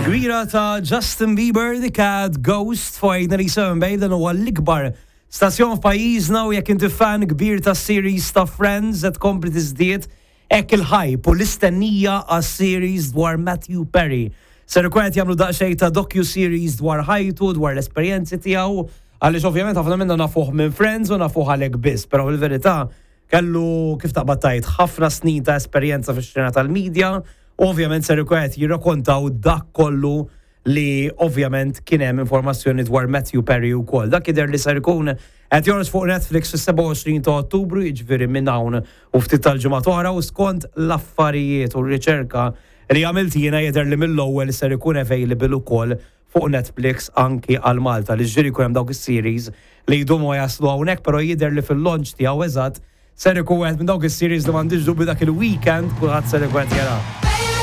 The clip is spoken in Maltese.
Kbira ta' Justin Bieber, The Cat Ghost fuq 897 Bay, dan huwa l-ikbar stazzjon f'pajjiżna u jekk inti fan kbir ta' series ta' Friends qed tkompli tiżdied hekk il-hype u l-istennija għas-series dwar Matthew Perry. Ser ikun qed jagħmlu daqsxejn ta' docu-series dwar ħajtu, dwar l-esperjenzi tiegħu, għaliex ovvjament ħafna minna nafuh minn Friends u nafuh għalhekk biss, però fil-verità kellu kif taqbad tgħid ħafna snin ta' esperjenza fix-xena tal-media u ovvjament ser ikun qed jirrakontaw dak kollu li ovvjament kien hemm informazzjoni dwar Matthew Perry wkoll. Dak jidher li ser ikun qed joħroġ fuq Netflix fis-27 ta' Ottubru, jiġifieri minn hawn u ftit tal-ġimgħat oħra u skont l-affarijiet u r-riċerka li għamilt jiena jidher li mill-ewwel ser ikun available ukoll fuq Netflix anki għal Malta li ġieli jkun hemm dawk is-series li jdumu ma jaslu hawnhekk però jidher li fil-launch tiegħu eżatt ser ikun wieħed minn dawk is-series li m'għandix dubju dak il-weekend kulħadd ser ikun qed jarah.